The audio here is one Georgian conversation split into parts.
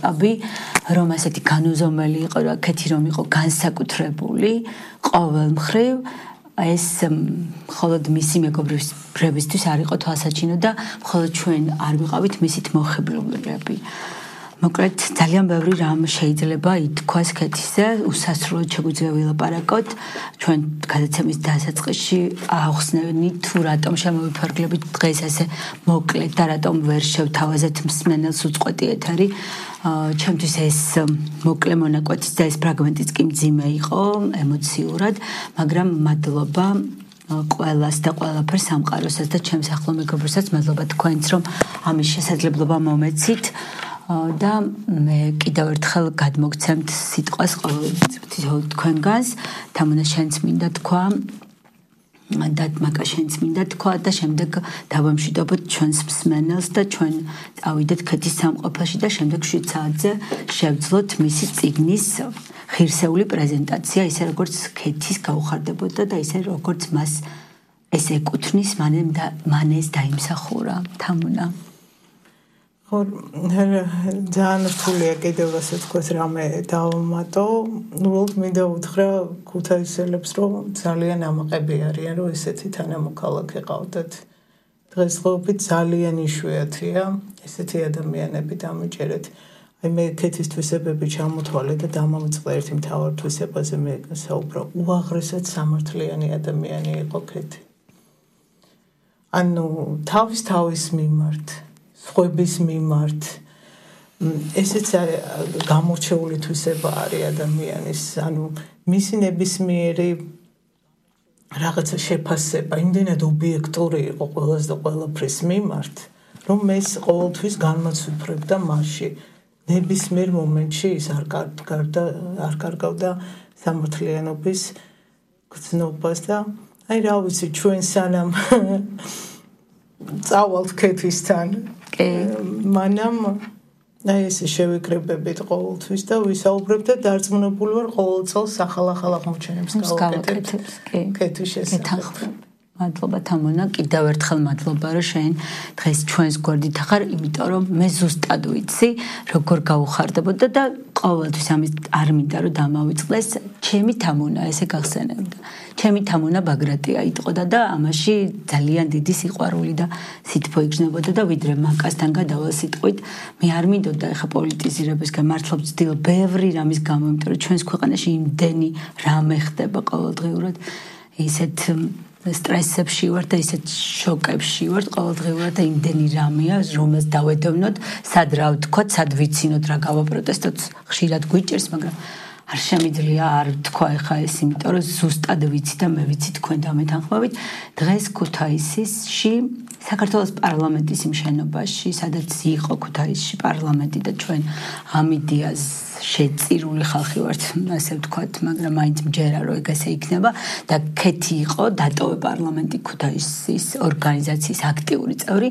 მასშტაბი, რომ ასეთი განუზომელი იყო, რა კეთი რომ იყო განსაკუთრებული ყოველ მხრივ ეს მხოლოდ მისი მეგობრებისთვის არ იყო თვალსაჩინო და მხოლოდ ჩვენ არ ვიყავით მისით მოხიბლულები. მოკლედ ძალიან ბევრი რამ შეიძლება ითქვას კეთისზე, უსასრულოდ შეგვიძლია ვილაპარაკოთ ჩვენ გადაცემის დასაწყისში ახსნენი თუ რატომ შემოვიფარგლებით დღეს ასე მოკლედ და რატომ ვერ შევთავაზეთ მსმენელს უწყვეტი ეთერი. ჩემთვის ეს მოკლე მონაკვეთის და ეს ფრაგმენტიც კი მძიმე იყო ემოციურად, მაგრამ მადლობა ყველას და ყველაფერს სამყაროსაც და ჩემს ახლო მეგობრებსაც მადლობა თქვენს რომ ამის შესაძლებლობა მომეცით და მე კიდევ ერთხელ გადმოგცემთ სიტყვას ყოველ თქვენგანს თამუნა შენც მინდა თქვა და მაკა შენც მინდა თქვა და შემდეგ დავამშვიდობოთ ჩვენს მსმენელს და ჩვენ წავიდეთ ქეთის სამყოფაში და შემდეგ 7 საათზე შევძლოთ მისი წიგნის ღირსეული პრეზენტაცია ისე როგორც ქეთის გაუხარდებოდა და ისე როგორც მას ეს ეკუთვნის მან ეს დაიმსახურა თამუნა ძალიან რთულია კიდევ ასე თქვას რამე დავამატო. უბრალოდ მინდა უთხრა ქუთაისელებს რომ ძალიან ამაყები არიან რომ ესეთი თანამოქალაქე ყავდათ. დღესდღეობით ძალიან იშვიათია ესეთი ადამიანები დამიჯერეთ. აი მე ქეთის თვისებები ჩამოთვალე და დამამწყდა ერთი მთავარ თვისებაზე მე საუბრო უაღრესად სამართლიანი ადამიანი იყო ქეთი. ანუ თავის მიმართ სხვების მიმართ ესეც გამორჩეული თვისება არის ადამიანის ანუ მისი ნებისმიერი რაღაცა შეფასება იმდენად ობიექტური იყო ყველას და ყველაფრის მიმართ რომ ეს ყოველთვის განმაცვიფრებდა მასში ნებისმიერ მომენტში ის არ კარგავდა სამართლიანობის გრძნობას და აი რა ვიცი ჩვენ სანამ წავალთ ქეთისთან მანამ აი ესე შევიკრიბებით ყოველთვის და ვისაუბრებთ და დარწმუნებული ვარ ყოველ წელს ახალ აღმოჩენებს გავაკეთებთ ქეთის შესახებ. მადლობა თამონა, კიდევ ერთხელ მადლობა რომ შენ დღეს ჩვენს გვერდით ახარ, იმიტომ რომ მე ზუსტად ვიცი როგორ გაუხარდებოდა და ყოველთვის ამის არ მინდა რომ დამავიწყდეს ჩემი თამონა ესე გახსენებდა. ჩემი თამონა ბაგრატია იტყოდა და ამაში ძალიან დიდი სიყვარული და სითბო იგრძნობოდა და ვიდრე მაკასთან გადავალ სიტყვით მე არ მინდოდა ეხა პოლიტიზირებისგან მართლა ვცდილობ ბევრი რამის გამო, იმიტომ რომ ჩვენს ქვეყანაში იმდენი რამე ხდება ყოველდღიურად ისეთ სტრესებში ვარ და ისეთ შოკებში ვარ ყოველდღიურად და იმდენი რამეა რომელს დავედოვნოთ სად რა ვთქვათ სად ვიცინოთ რა გავაპროტესტოთ ხშირად გვიჭერს მაგრამ არ შემიძლია არ თქვა ეხა ეს იმიტომ რომ ზუსტად ვიცი და მე ვიცი თქვენ დამეთანხმებით დღეს ქუთაისში საქართველოს პარლამენტის იმ შენობაში სადაც იყო ქუთაისში პარლამენტი და ჩვენ ამიდიას შეწირული ხალხი ვართ ასე ვთქვათ მაგრამ მაინც მჯერა რომ ეგ ესე იქნება და ქეთი იყო დატოვე პარლამენტი ქუთაისის ორგანიზაციის აქტიური წევრი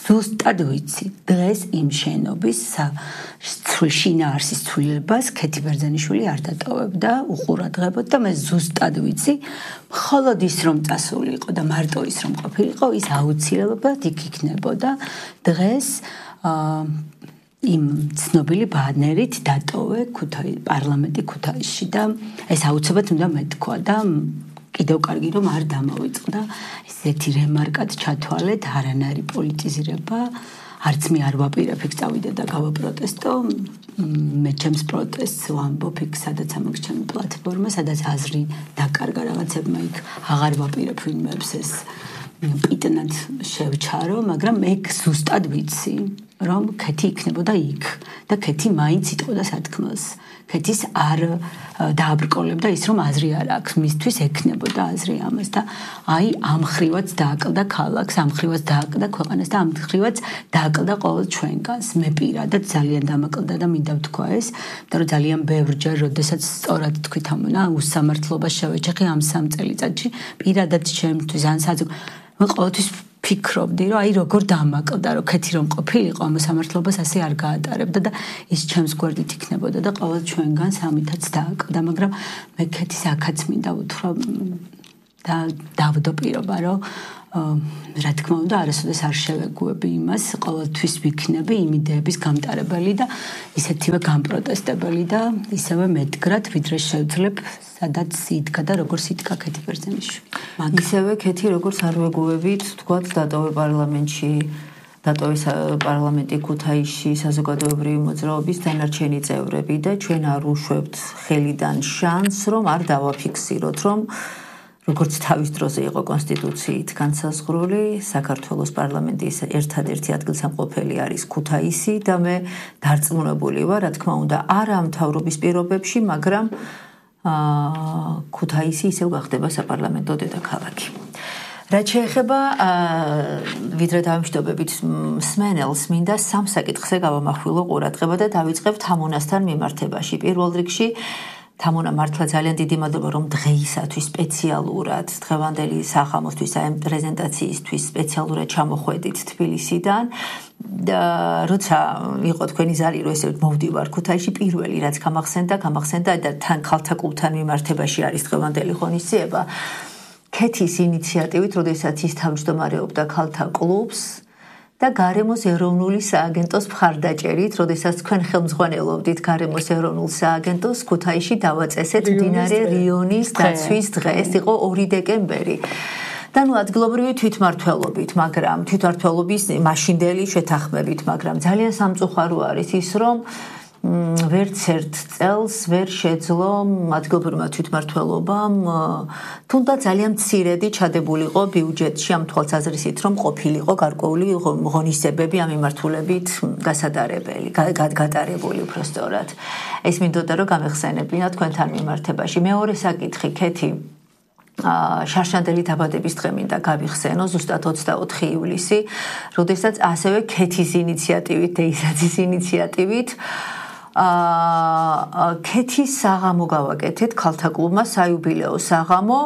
ზუსტად ვიცი დღეს იმ შენობის შინაარსის ცვლილებას ქეთი ბერძენიშვილი არ დატოვებდა უყურადღებოდ და მე ზუსტად ვიცი მხოლოდ ის რომ წასული იყო და მარტო ის რომ ყოფილიყო ის აუცილებლად იქ იქნებოდა დღეს იმ ცნობილი ბანერით დატოვე პარლამენტი ქუთაისში და ეს აუცილებლად უნდა მეთქვა და კიდევ კარგი რომ არ დამავიწყდა ესეთი რემარკად ჩათვალეთ არანაირი პოლიტიზირება არც მე არ ვაპირებ იქ წავიდე და გავაპროტესტო მე ჩემს პროტესტს ვამბობ იქ სადაც ამაქვს ჩემი პლატფორმა სადაც აზრი დაკარგა რაღაცებმა იქ აღარ ვაპირებ ვინმეებს ეს პიტნად შევჩარო მაგრამ მე ზუსტად ვიცი რომ ქეთი იქნებოდა იქ და ქეთი მაინც იტყოდა სათქმელს ქეთის არ დააბრკოლებდა ის რომ აზრი არ აქვს მისთვის ექნებოდა აზრი ამას და აი ამ ხრივაც დააკლდა ქალაქს ამ ხრივაც დააკლდა ქვეყანას და ამ ხრივაც დააკლდა ყოველ ჩვენგანს მე პირადად ძალიან დამაკლდა და მინდა ვთქვა ეს იმიტომ რომ ძალიან ბევრჯერ როდესაც სწორად თქვი თამონა უსამართლობას შევეჯახი ამ 3 წელიწადში პირადად ჩემთვის ან მე ყოველთვის ფიქრობდი რომ აი როგორ დამაკლდა რომ ქეთი რომ ყოფილიყო ამ სამართლობას ასე არ გაატარებდა და ის ჩემს გვერდით იქნებოდა და ყოველ ჩვენგანს ამითაც დააკლდა მაგრამ მე ქეთის აქაც მინდა უთხრა და დავდაპირობა რომ რა თქმა უნდა არასოდეს არ შევეგუები იმას ყოველთვის ვიქნები იმ იდეების გამტარებელი და ისეთივე გამპროტესტებელი და ისევე მედგრად ვიდრე შევძლებ სადაც იდგა და როგორც იდგა ქეთი ბერძენიშვილი ისევე ქეთი როგორც არ ვეგუებით თქვათ დატოვე პარლამენტში დატოვეს პარლამენტი ქუთაისში საზოგადოებრივი მოძრაობის დანარჩენი წევრები და ჩვენ არ უშვებთ ხელიდან შანსს რომ არ დავაფიქსიროთ რომ როგორც თავის დროზე იყო კონსტიტუციით განსაზღვრული საქართველოს პარლამენტის ერთადერთი ადგილსამყოფელი არის ქუთაისი და მე დარწმუნებული ვარ რა თქმა უნდა არა მთავრობის პირობებში მაგრამ ქუთაისი ისევ გახდება საპარლამენტო დედაქალაქი რაც შეეხება ვიდრე დავიმშვიდობებით მსმენელს მინდა სამ საკითხზე გავამახვილო ყურადღება და დავიწყებ თამონასთან მიმართებაში პირველ რიგში თამონა მართლა ძალიან დიდი მადლობა რომ დღეისათვის სპეციალურად დღევანდელი სახამოსთვის აი პრეზენტაციისთვის სპეციალურად ჩამოხვედით თბილისიდან და როცა იყო თქვენი ზარი რომ ესე მოვდივარ ქუთაისში პირველი რაც გამახსენდა და თან ქალთა კლუბთან მიმართებაში არის დღევანდელი ღონისძიება ქეთის ინიციატივით როდესაც ის თავმჯდომარეობდა ქალთა კლუბს და გარემოს ეროვნული სააგენტოს მხარდაჭერით, როდესაც თქვენ ხელმძღვანელობდით გარემოს ეროვნულ სააგენტოს ქუთაისში დავაწესეთ მდინარე რიონის დაცვის დღე. ეს იყო 2 დეკემბერი. და ნუ ადგილობრივი თვითმმართველობით, მაგრამ თვითმმართველობის მაშინდელი შეთანხმებით, მაგრამ ძალიან სამწუხარო არის ის, რომ ვერც ერთ წელს ვერ შეძლო ადგილობრივმა თვითმმართველობამ თუნდაც ძალიან მცირედი ჩადებულიყო ბიუჯეტში ამ თვალსაზრისით რომ ყოფილიყო გარკვეული ღონისძიებები ამ მიმართულებით გატარებული უბრალოდ ეს მინდოდა რომ გამეხსენებინა თქვენთან მიმართებაში მეორე საკითხი ქეთი შარშანდელი დაბადების დღე მინდა გავიხსენო ზუსტად 24 ივლისი როდესაც ასევე ქეთის ინიციატივით დეისაძის ინიციატივით ქეთის საღამო გავაკეთეთ ქალთა კლუბმა საიუბილეო საღამო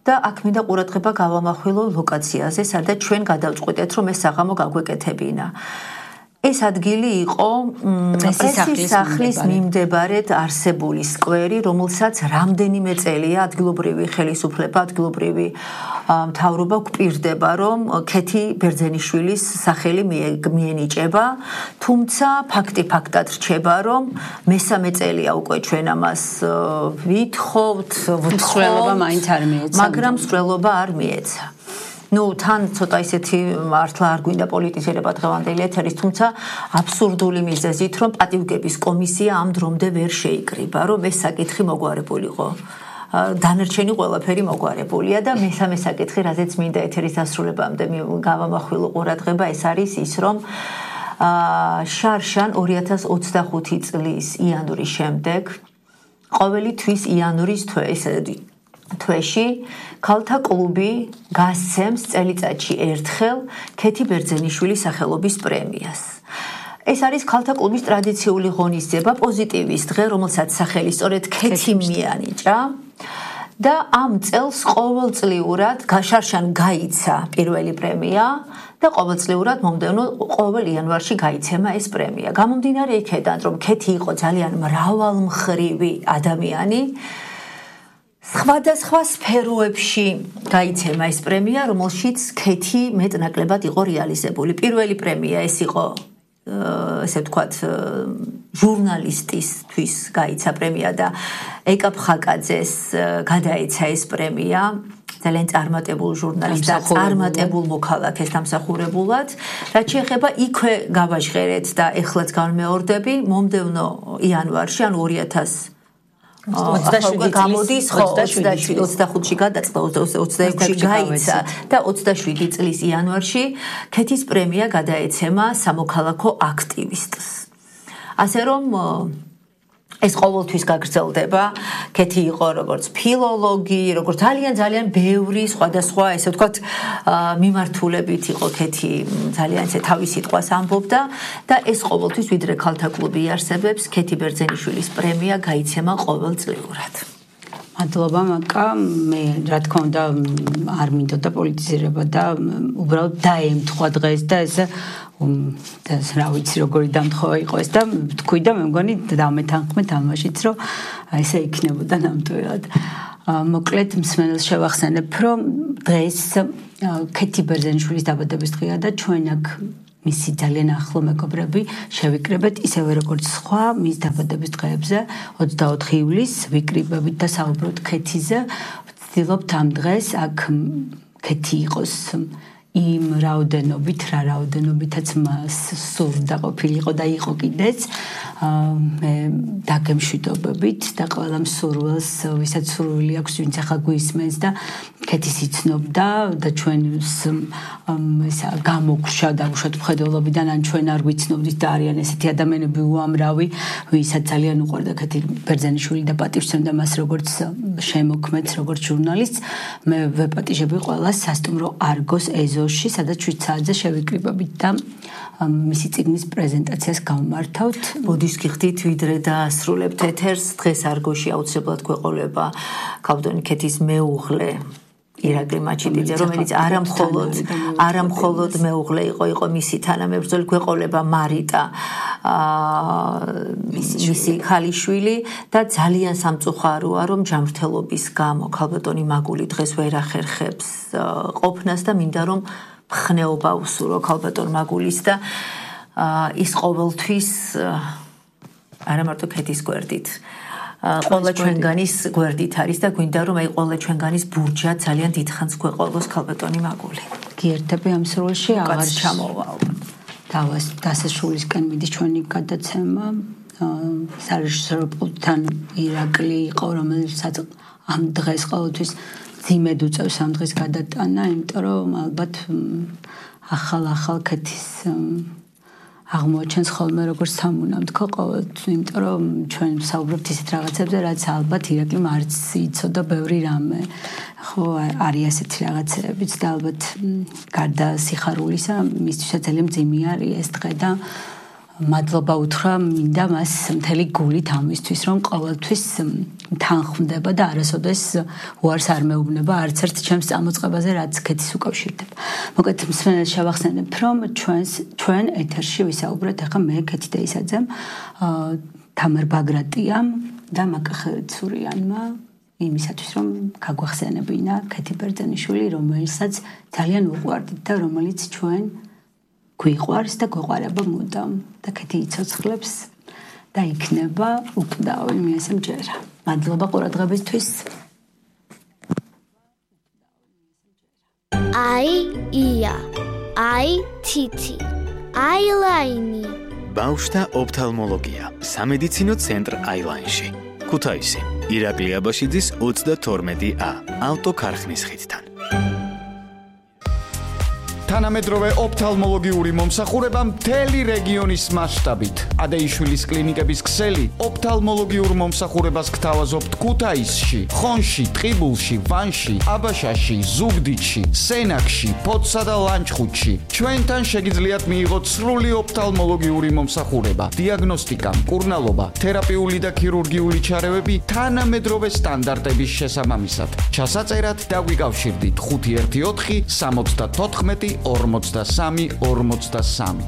და აქ მინდა ყურადღება გავამახვილო ლოკაციაზე სადაც ჩვენ გადავწყვიტეთ რომ ეს საღამო გაგვეკეთებინა ეს ადგილი იყო პრესის სახლის მიმდებარედ არსებული სკვერი რომელსაც რამდენიმე წელია ადგილობრივი ხელისუფლება ადგილობრივი მთავრობა გვპირდება რომ ქეთი ბერძენიშვილის სახელი მიენიჭება თუმცა ფაქტი ფაქტად რჩება რომ მესამე წელია უკვე ჩვენ ამას ვითხოვთ სრულობა მაინც არ მიეცა მაგრამ სრულობა არ მიეცა ნუ თან ცოტა ისეთი მართლა არ გვინდა პოლიტიზირება დღევანდელი ეთერის თუმცა აბსურდული მიზეზით რომ პატივგების კომისია ამ დრომდე ვერ შეიკრიბა რომ ეს საკითხი მოგვარებულიყო დანარჩენი ყველაფერი მოგვარებულია და მესამე საკითხი რაზეც მინდა ეთერის დასრულებამდე გავამახვილო ყურადღება ეს არის ის რომ შარშან 2025 წლის იანვრის შემდეგ ყოველი თვის იანვრის თვეში ქალთა კლუბი გასცემს წელიწადში ერთხელ ქეთი ბერძენიშვილის სახელობის პრემიას. ეს არის ქალთა კლუბის ტრადიციული ღონისძიება, პოზიტივის დღე, რომელსაც სახელი სწორედ ქეთი მიანიჭა. და ამ წელს ყოველწლიურად შარშან გაიცა პირველი პრემია და ყოველწლიურად მომდევნო ყოველ იანვარში გაიცემა ეს პრემია. გამომდინარე იქედან, რომ ქეთი იყო ძალიან მრავალმხრივი ადამიანი სხვადასხვა სფეროებში გაიცემა ეს პრემია, რომელშიც ქეთი მეტნაკლებად იყო რეალიზებული. პირველი პრემია ეს იყო, ესე ვთქვათ, ჟურნალისტისთვის გაიცა პრემია და ეკა ფხაკაძეს გადაეცა ეს პრემია. ძალიან წარმატებულ ჟურნალისტს და წარმატებულ მოქალაქეს დამსახურებულად. რაც შეეხება იქვე გავაჟღერეთ და ეხლაც განმეორდები, მომდევნო იანვარში, ანუ 27 გამოდის 25-ში გადაწყდა 26-ში გაიცა და 27 წლის იანვარში ქეთის პრემია გადაეცემა სამოქალაქო აქტივისტს. ასე რომ ეს ყოველთვის გაგრძელდება. ქეთი იყო როგორც ფილოლოგი, როგორც ძალიან ბევრი სხვადასხვა, ესე ვთქვათ, მიმართულებით იყო ქეთი ძალიან ესე თავის სიტყვას ამბობდა და ეს ყოველთვის ვიდრე ქალთა კლუბი არსებობს, ქეთი ბერძენიშვილის პრემია გაიცემა ყოველწლიურად. მადლობა მაკა, მე რა თქმა უნდა არ მინდოდა პოლიტიზირება და უბრალოდ დაემთხვა დღეს და ეს რა ვიცი როგორი დამთხოვა იყო ეს და თქვი და მე მგონი დამეთანხმეთ ამაშიც რომ ესე იქნებოდა ნამდვილად. მოკლედ მსმენელს შევახსენებ, რომ დღეს ქეთი ბერძენიშვილის დაბადების დღეა და ჩვენ აქ მისი ძალიან ახლო მეგობრები შევიკრიბეთ ისევე როგორც სხვა მის დაბადების დღეებზე 24 ივლისს ვიკრიბებით და საუბრობთ ქეთიზე. ვცდილობთ ამ დღეს აქ ქეთი იყოს იმ რაოდენობით, რა რაოდენობითაც მას სურდა ყოფილიყო და იყო კიდეც მე დაგემშვიდობებით და ყველა მსურველს, ვისაც სურვილი აქვს, ვინც ახლა გვისმენს და ქეთის იცნობდა და ჩვენს ესა გამოგვშა და უშოთ მხედველობიდან ან ჩვენ არ ვიცნობდით და არიან ესეთი ადამიანები უამრავი, ვისაც ძალიან უყვარდა ქეთი ბერძენიშვილი და პატივსცემდა მას როგორც შემოქმედს, როგორც ჟურნალისტს. მე ვეპატიჟები ყველას სასტუმრო არგოს ეზოში, სადაც 7 საათზე შევიკრიბებით და მისი წიგნის პრეზენტაციას გავმართავთ. მოდის გიხდით ვიდრე დაასრულებთ ეთერს, დღეს არგოში აუცილებლად გვეყოლება ქალბატონი ქეთის მეუღლე ირაკლი მაჩიძე, რომელიც არამხოლოდ მეუღლე იყო მისი თანამებრძოლი, გვეყოლება მარიტა მისი ქალიშვილი და ძალიან სამწუხაროა, რომ ჯანმრთელობის გამო ქალბატონი მაგული დღეს ვერ ახერხებს ყოფნას და მინდა რომ მხნეობა უსურო ქალბატონ მაგულის და ის ყოველთვის არა მარტო ქეთის გვერდით ყველა ჩვენგანის გვერდით არის და გვინდა რომ აი ყველა ჩვენგანის ბურჯა ძალიან დიდხანს გვეყოლოს ქალბატონი მაგული. გიერთები ამ სროლში აღარ ჩამოვალ. დასასრულისკენ მიდის ჩვენი გადაცემა. სარეჟისორო პულტთან ირაკლი იყო, რომელსაც ამ დღეს ყოველთვის ძიმედ უწევს ამ დღეს გადატანა, იმიტომ რომ ალბათ ახალ ქეთის აღმოაჩენს ხოლმე როგორც სამუნამდგო ყოველთვის, იმიტომ რომ ჩვენ ვსაუბრობთ ისეთ რაღაცებზე, რაც ალბათ ირაკლიმ არც იცოდა ბევრი რამე. ხო, არის ასეთი რაღაცებიც და ალბათ გარდა სიხარულისა, მისთვისაც ძალიან მძიმე არის ეს დღე და მადლობა უთხრა მინდა მას მთელი გულით ამისთვის, რომ ყოველთვის თანხმდება და არასოდეს უარს არ მეუბნება არც ერთ ჩემს წამოწყებაზე, რაც ქეთის უკავშირდება. მოკლედ მსმენელს შევახსენებ, რომ ჩვენ ეთერში ვისაუბრეთ ახლა მე ქეთი დაისაძემ, თამარ ბაგრატიამ და მაკახეცურიანმა იმისათვის, რომ გაგვახსენებინა ქეთი ბერძენიშვილი, რომელსაც ძალიან უყვარდით და რომელიც ჩვენ გვიყვარს და გვეყარება მუდამ და ქეთი იცოცხლებს და იქნება უკვდავი, მე ესე მჯერა. მადლობა ყურადღებისთვის. ია, თითი, აილაინი. ბავშვთა ოფთალმოლოგია, სამედიცინო ცენტრ აილაინში. ქუთაისი, ირაკლი აბაშიძის 32A, ავტოქარხნის ხიდთან. თანამედროვე ოფთალმოლოგიური მომსახურება მთელი რეგიონის მასშტაბით. ადეიშვილის კლინიკების ქსელი ოფთალმოლოგიურ მომსახურებას გთავაზობთ ქუთაისში, ხონში, ტყიბულში, ვანში, აბაშაში, ზუგდიდში, სენაკში, ფოთსა და ლანჩხუთში. ჩვენთან შეგიძლიათ მიიღოთ სრული ოფთალმოლოგიური მომსახურება, დიაგნოსტიკა, მკურნალობა, თერაპიული და ქირურგიული ჩარევები თანამედროვე სტანდარტების შესაბამისად. ჩასაწერად დაგვიკავშირდით 514 74 43.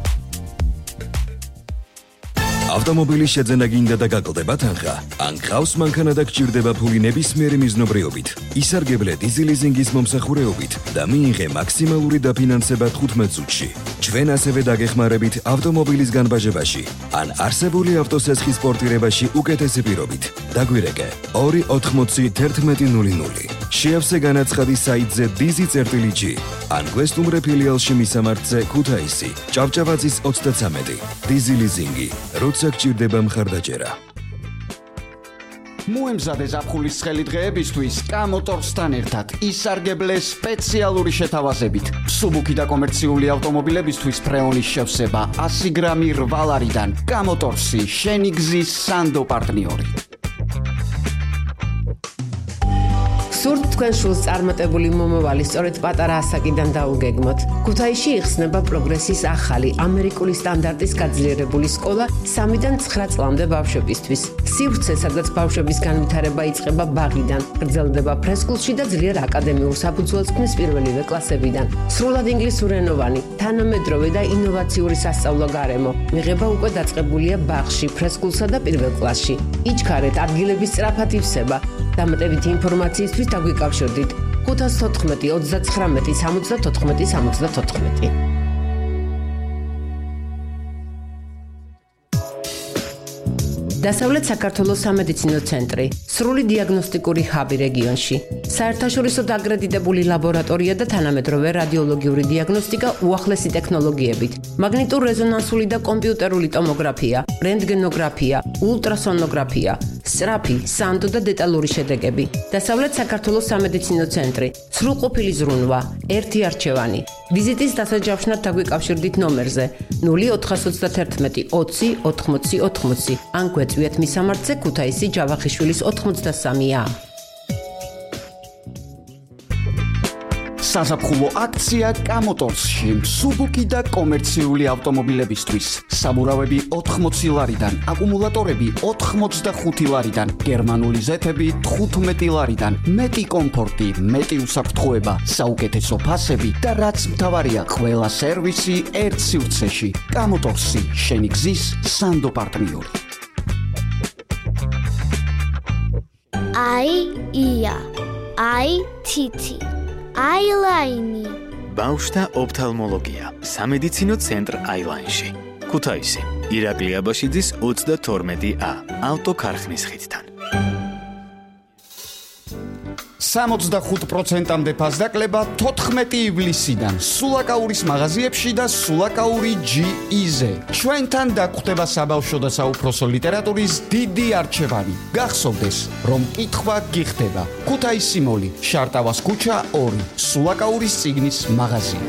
ავტომობილის შეძენა გინდა და გაკლდება თანხა? ან გყავს მანქანა და გჭირდება ფული ნებისმიერი მიზნობრიობით? ისარგებლე დიზი ლიზინგის მომსახურეობით და მიიღე მაქსიმალური დაფინანსება 15 წუთში. ჩვენ ასევე დაგეხმარებით ავტომობილის განბაჟებაში ან არსებული ავტოსესხის პორტირებაში უკეთესი პირობით. დაგვირეკე 280 შეავსე განაცხადი საიტზე dizi.g ან გვესტუმრე ფილიალში მისამართზე ქუთაისი, ჭავჭავაძის 33. დიზი ლიზინგი, როცა გჭირდება მხარდაჭერა. მოემზადე ზაფხულის ცხელი დღეებისთვის კამოტორსთან ერთად ისარგებლე სპეციალური შეთავაზებით. სუბუქი და კომერციული ავტომობილებისთვის ფრეონის შევსება 100 გრამი 8 ლარიდან. კამოტორსი, შენი გზის სანდო პარტნიორი. სურთ თქვენ შულს წარმატებული მომავალი სწორედ პატარა ასაკიდან დაუგეგმოთ. ქუთაისში იხსნება პროგრესის ახალი ამერიკული სტანდარტის გაძლიერებული სკოლა 3-დან 9 წლამდე ბავშვებისთვის. სივრცე, სადაც ბავშვების განვითარება იწყება ბაღიდან, გრძელდება ფრესკულში და ძლიერ აკადემიურ საფუძველს ქმნის პირველივე კლასებიდან. სრულად ინგლისურენოვანი, თანამედროვე და ინოვაციური სასწავლო გარემო. მიღება უკვე დაწყებულია ბაღში, ფრესკულსა და პირველ კლასში. იჩქარეთ, ადგილების სწრაფად ივსება. დამატებითი ინფორმაციისთვის დაგვიკავშირდით 514 39 74 74. დასავლეთ საქართველოს სამედიცინო ცენტრი, სრული დიაგნოსტიკური ჰაბი რეგიონში, საერთაშორისო დაკრედიტებული ლაბორატორია და თანამედროვე რადიოლოგიური დიაგნოსტიკა უახლესი ტექნოლოგიებით, მაგნიტურ-რეზონანსული და კომპიუტერული ტომოგრაფია, რენტგენოგრაფია, ულტრასონოგრაფია, სწრაფი, სანდო და დეტალური შედეგები. დასავლეთ საქართველოს სამედიცინო ცენტრი, სრულყოფილი ზრუნვა, ერთი არჩევანი. ვიზიტის დასაჯავშნად დაგვიკავშირდით ნომერზე 0431 20 80 80 ან გვეწვიეთ მისამართზე ქუთაისი ჯავახიშვილის 83-ა. საზაფხულო აქცია კამოტორსში სუბუკი და კომერციული ავტომობილებისთვის. საბურავები 80 ლარიდან, აკუმულატორები 85 ლარიდან, გერმანული ზეთები 15 ლარიდან, მეტი კომფორტი, მეტი უსაფრთხოება, საუკეთესო ფასები და რაც მთავარია, ყველა სერვისი ერთ სივრცეში. კამოტორსი, შენი გზის სანდო პარტნიორი. ია თითი აილაინი ბავშთა ოფთალმოლოგია სამედიცინო ცენტრ აილაინში ქუთაისი ირაკლი აბაშიძის 32A ავტოქარხნის ხიდთან 65%-მდე ფასდაკლება 14 ივლისიდან სულაკაურის მაღაზიებში და სულაკაური GE-ზე. ჩვენთან დაგვხვდება საბავშვო და საუფროსო ლიტერატურის დიდი არჩევანი. გახსოვდეს, რომ კითხვა გიხდება. ქუთაისი მოლი, შარტავას ქუჩა 2, სულაკაურის წიგნის მაღაზია.